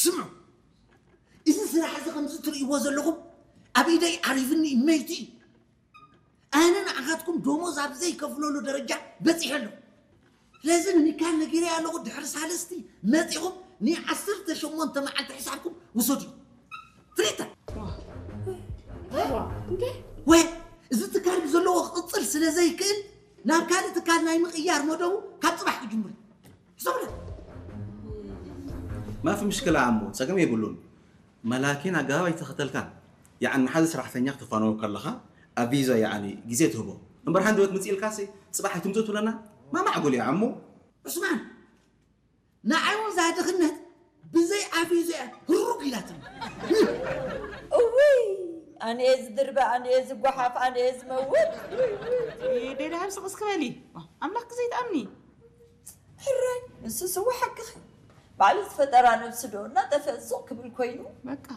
ስምዑ፣ እዚ ስራሕ እዚ ከምዚ ትርእይዎ ዘለኹም ኣብ ኢደይ ዓሪፍኒ እመይቲ እዩ። ኣነ ንዓኻትኩም ደሞዝ ኣብ ዘይከፍለሉ ደረጃ በፂሐ ኣለኹ። ስለዚ ንሚካል ነጊረ ኣለኹ፣ ድሕሪ ሳልስቲ መፂኹም ንዓሰርተ ሸሞንተ መዓልቲ ሕሳብኩም ውሰዱ። ትርኢታ እንዴ ወይ እዚ ትካል ብዘለዎ ክቕፅል ስለ ዘይክእል ናብ ካልእ ትካል ናይ ምቕያር መደቡ ካብ ፅባሕ ክጅምር እዩ። ሕሰብለ ما في مشكلة عمو، ጸገም የብሉን። መላኪን ኣገባብ ኣይተኸተልካን። ያዓኒ ንሓደ ሰራሕተኛ ክተፋነዎ ከለኻ ኣብ ቪዛ ያዓኒ ግዜ ትህቦ። እምበር ሓንቲ ወት ምጽእ ኢልካሲ ጽባሕ ኣይትምጽእ ትብለና? ማ ማዕጉል እዩ ዓሞ? ዑስማን ንዓይ እውን እዛ ድኽነት ብዘይ ኣፍ እዩ ዘያ ህሩግ ኢላትኒ። እውይ ኣነየ ዝድርበ ኣነየ ዝጓሓፍ ኣነየ ዝመውት ደድሃብ ስቕ እስክበሊ ኣምላክ ዘይትኣምኒ ሕራይ ንሱ ስዋ ሓቅኺ ባዕሉ ዝፈጠራ ነብሲ ዶ እናጠፈ ሱቕ ክብል ኮይኑ በቃ